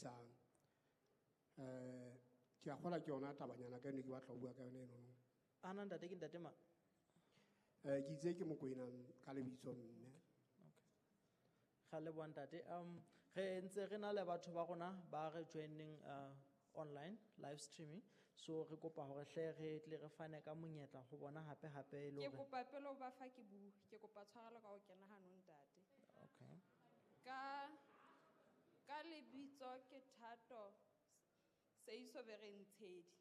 Sebedisang. Ke a kgolwa ke yona tabanyana ka eno ke batla ho bua ka yona enono. Ana ntate ke ntate mang? Ke itse ke Mokoena ka lebitso mme. Okay. Ga leboha ntate. Re ntse re na le batho ba rona ba re joining online live streaming. So re kopa hore hle re tle re fane ka monyetla ho bona hape hape e le Ke hore kopa pele o ba fa ke bue, ke kopa tshwarelo ka ho kena hanong ntate. Okay. Ka lebitso ke Thato Seiso Berentshedi.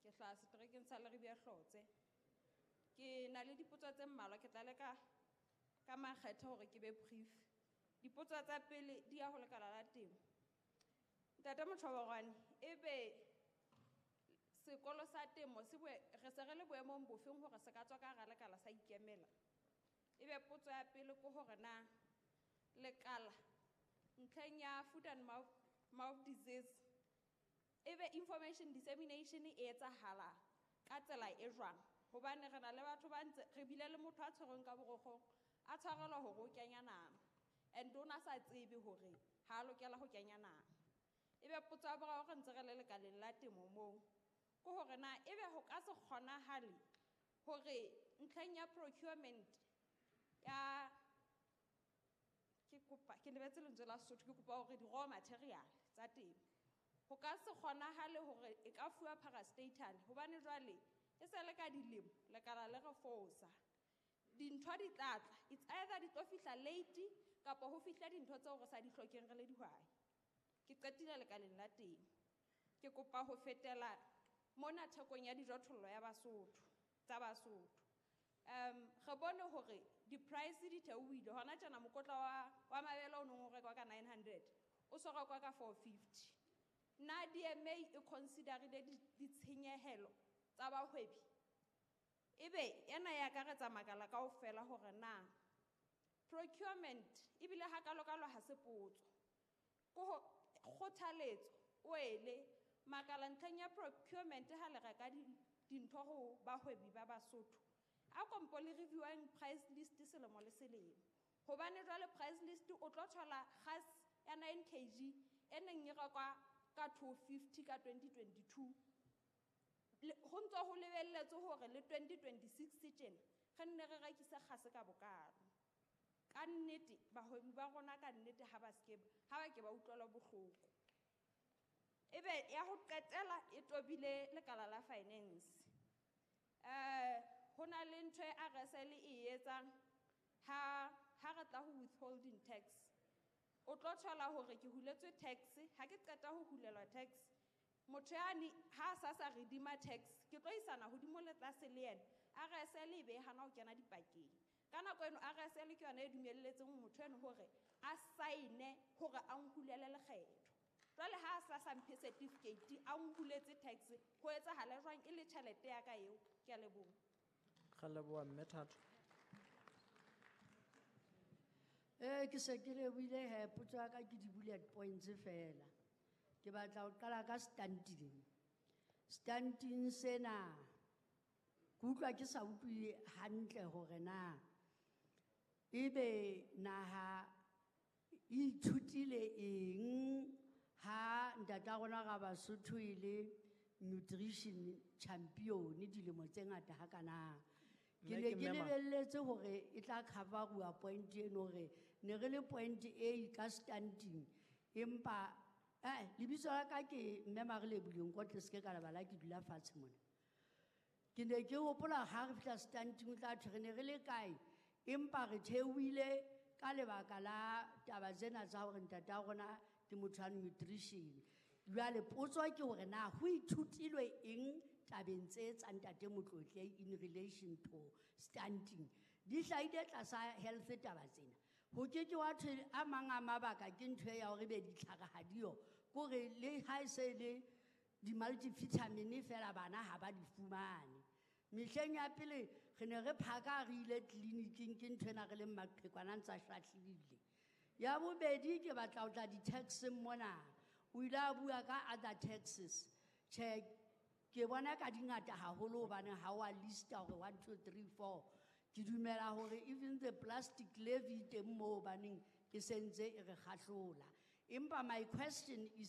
Ke hlaha seterekeng sa Leribe Hlotse. Ke na le dipotso tse mmalwa, ke tla leka ka makgethe hore ke be brief. Dipotso tsa pele di ya ho lekala la temo. Ntate Motjhoborwane, ebe sekolo sa temo se re se re le boemong bofeng hore se ka tswa ka hara lekala sa ikemela? Ebe potso ya pele ke hore na lekala ntlheng ya foot and mouth disease, ebe information dissemination e etsahala ka tsela e jwang? Hobane re na le batho ba ntse re bile le motho a tshwerweng ka borokgong, a tshwarelwa hore o kenya nama, and o na sa tsebe hore ha a lokela ho kenya nama. Ebe potso ya boraro re ntse re le lekaleng la temo moo, ke hore na ebe ho ka se kgonahale hore ntlheng ya procurement ya, ke kopa, ke lebetse lentswe la Sesotho, ke kopa hore di-raw material tsa temo, ho ka se kgonahale hore e ka fuwa parastatal, hobane jwale e se le ka dilemo lekala le re fosa. Dintho di tla tla, it's either di tlo fihla late kapa ho fihla dintho tseo re sa di hlokeng re le dihwai. Ke qetile lekaleng la temo. Ke kopa ho fetela mona thekong ya dijothollo ya Basotho, tsa Basotho. Re bone hore di-price di theohile. Hona tjena mokotla wa mabele o neng o rekwa ka 900, o so rekwa ka 450. Na DMA e considerile ditshenyehelo tsa bahwebi? Ebe ena ya akaretsa makala kaofela hore na procurement ebile hakalokalo ha se potso. Ke ho kgothaletso o ele makala ntlheng ya procurement ha le reka dintho ho bahwebi ba Basotho. A kompo le reviewang price list selemo le selemo. Hobane jwale price list o tlo thola gas ya 9 kg e neng e rekwa ka 250 ka 2022. Ho ntso ho lebelletswe hore le 2026 tjena re nne re rekise kgase ka bokalo. Ka nnete bahwebi ba rona ka nnete ha ba ske, ha ba ke ba utlwela bohloko. Ebe ya ho qetela e tobile lekala la finance. Ho na le ntho e RSL e etsang ha re tla ho withholding tax. O tlo thola hore ke huletswe tax, ha ke qeta ho hulelwa tax, motho yane ha a sa sa redeema tax, ke tlo isana hodimo le tlase le yena. RSL e be e hana ho kena dipakeng. Ka nako eno RSL ke yona e dumelletseng motho eno hore a sign-e hore a nhulele lekgetho. Jwale ha a sa sa mphe certificate, a nhuletse tax, ho etsahala jwang e le tjhelete ya ka eo? Ke a leboha. Ga leboha mme Thato. Ke se ke lebohile he, potso ya ka ke di-bullet points fela. Ke batla ho qala ka stunting. Stunting sena, ke utlwa ke sa utlwe hantle hore na ebe naha e ithutile eng ha ntata rona ra Basotho e le nutrition champion dilemo tse ngata hakana. Ke Mme ne ke ke mme mang? lebelletse hore e tla cover-uwa point eno hore ne re le point A ka stunting, empa, lebitso la ka ke mme Marelebuleng Nkotle, se ke ka lebala ke dula fatshe mona. Ke ne ke hopola ha re fihla stunting o tla thwe re ne re le kae, empa re theohile ka lebaka la taba tsena tsa hore ntate wa rona ke motho wa nutrition. Jwale potso ke hore na ho ithutilwe eng tabeng tse tsa ntate Motlotle in relation to stunting. Di hlahile tlasa health taba tsena. Ho ke ke wa thwe a mang a mabaka ke ntho ya hore be ditlhare ha diyo. Kore le ha e se le di-multivitamin fela bana ha ba di fumane. Mehleng ya pele re ne re phaka re ile tleliniking ke nthwena re leng maqhekwana ntsa shahlile. Ya bobedi ke batla ho tla di-taxeng mona. O ile a bua ka other taxes. Tjhe, ke bona ka di ngata haholo hobane ha wa lista hore 1, 2, 3, 4. Ke dumela hore even the plastic levy teng moo hobaneng e sentse e re kgahlola. Empa my question is